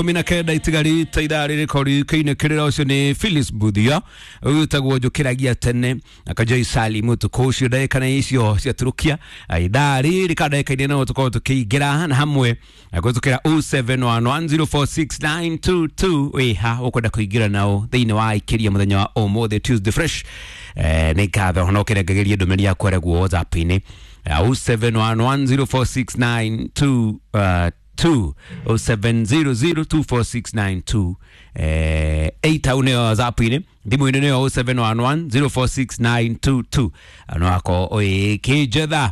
19 itigarite ithaa rĩrĩko rĩkĩinĩkĩrĩra ũcio nĩ Phyllis Mbuthia ũyũ njũkĩragia tene akajoi Sali mũtukũ ũcio ndagĩka nĩ icio ciatũrũkia ithaa rĩrĩ ka ndagĩka-inĩ no tũkorwo tũkĩingĩra na hamwe kũhĩtũkĩra 0711046922 wĩha ũkwenda kũingĩra nao thĩinĩ wa ikĩria mũthenya wa ũmũthĩ Tuesday Fresh. Nĩ ngatho no kĩrengagĩrie ndũmĩrĩri yaku arĩa WhatsApp-inĩ 0711046922 0700246928 8 au nĩyo WhatsApp-inĩ thimũ-inĩ nĩyo 0711046922 no ako ĩkĩnjetha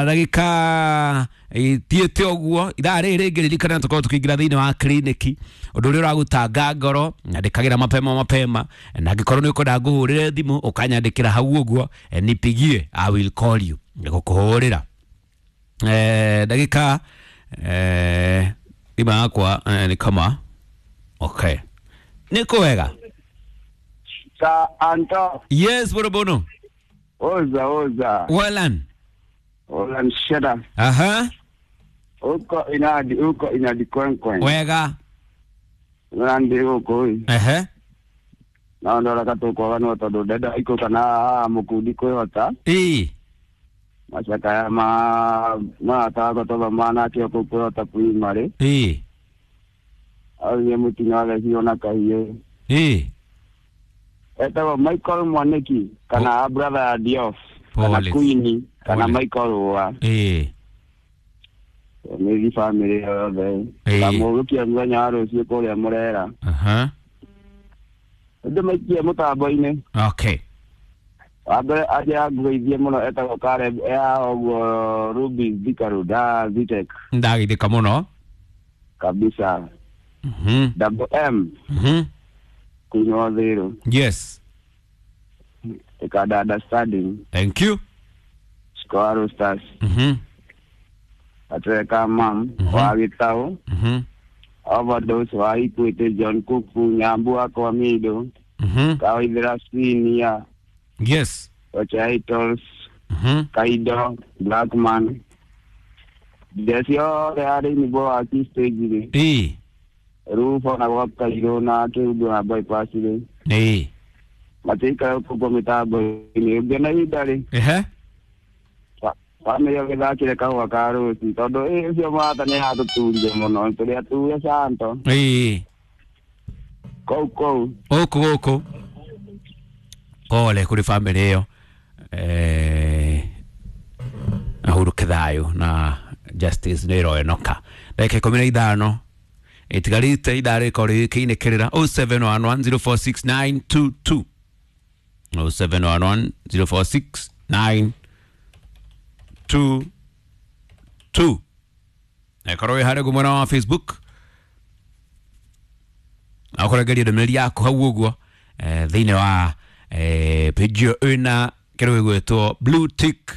ndagĩka itiĩte ũguo ithaa rĩrĩ rĩngĩ ririkana tũkorwo tũkĩingĩra thĩinĩ wa kliniki ũndũ ũrĩa ũragũtanga ngoro nyandĩkagĩra mapema mapema na angĩkorwo nĩ ũkwenda ngũhũrĩre thimũ ũkanyandĩkĩra hau ũguo nipigie, I will call you ngũkũhũrĩra ndagĩka thimũ yakwa nĩ kama okay nĩ kwega. Sa Anto. Yes, borobono. Oza oza. Walan. Ola msheda. Aha. Uko inadi, uko inadi kwenkwen. Wega. Nandi uko. Ehe. Na ndora katuko wanu tondu ndenda iko kana mukundi kwihota. Ii. Macakaya ma matako toba mana kio kwihota primary. Ii. Aye mutinga wa na kahiye. Ii. Etagwo Michael Mwaniki kana brother ya Diof kana Queen kana Michael wa. Ii. Nĩ family yothe. Kamũgũkia mũthenya wa rũciũ kũrĩa Mũrera. Aha. Ndĩ maikie mũtambo-inĩ. Okay. Wa mbere aje anguithie mũno etagwo Caleb ya ũguo Ruby Thika Road, Vitek. Ndagithĩka mũno. Kabisa. Mhm. Double M. Mhm. Queen wa Thĩrũ. Yes. Ikada understanding. Thank you. Square Stars. Mhm. Atweka mam wa Gĩtaũ. Mhm. Overdose wa Equity John Kuku Nyambu akwa Mido. Mhm. Kawaithira Senior. Yes. Ochaitos. Mhm. Kaido Blackman. Ndeci othe arĩ nyimbo wa key stage rĩ. Ii. Rufo na gwa Kairũ na Kĩundu na bypass rĩ. Ii. Matiikara kũguo mĩtambo-inĩ ũngĩona ihinda rĩ. Ehe. Bamĩrĩ ũgĩthakĩre kahũa ka rũci tondũ ĩ ũcio mũrata nĩ atũturire mũno tũrĩ ature Santo. Ii. Kũu kũu. Gũkũ gũkũ. Pole kũrĩ bamĩrĩ ĩyo. Ahuruke thayũ na justice nĩ ĩroenoka. Ndagĩka 15 itigarĩte ithaa rĩkorwo rĩkĩinĩkĩrĩra 0711046922 0711046922 ekorwo wĩ harĩa mwena wa Facebook na ũkũrengeria ndũmĩrĩri yaku hau ũguo thĩinĩ wa page ĩyo ĩna kĩrĩa gĩgwĩtwo blue tick.